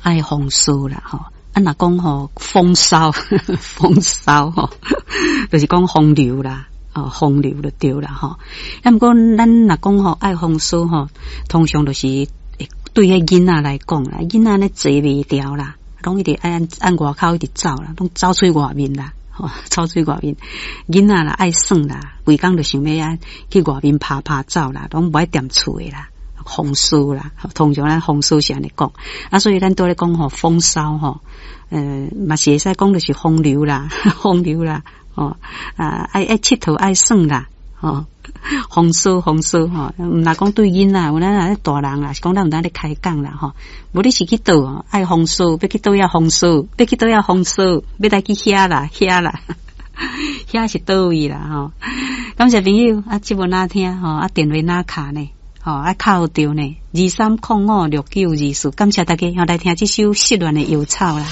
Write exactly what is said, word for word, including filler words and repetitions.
愛風騷啦吼。啊，若講吼風騷，風騷吼，就是講風流啦，哦，風流就對啦吼。啊，毋過咱若講吼愛風騷吼，通常就是對彼囡仔來講啦，囡仔咧坐袂牢啦，攏一直愛按按外口一直走啦，攏走出外面啦，吼，走出外面。囡仔啦愛耍啦，規工就想欲啊去外面趴趴走啦，攏無愛踮厝的啦。風騷啦，通常咱風騷是按呢講，啊，所以咱拄咧講吼風騷吼，呃，嘛是會使講就是風流啦，風流啦，吼啊，愛愛𨑨迌愛耍啦，吼，風騷風騷吼，毋若講對囡仔，有咱若大人啦，是講咱有當咧開講啦，吼，無你是去佗愛風騷，欲去佗遐風騷，欲去佗遐風騷，欲來去遐啦，遐啦，遐是佗位啦，吼，感謝朋友，啊，節目哪聽吼，啊，電話哪敲呢？吼，啊，敲著呢，二三空五六九二四，感謝大家，後來聽這首失戀的搖草啦。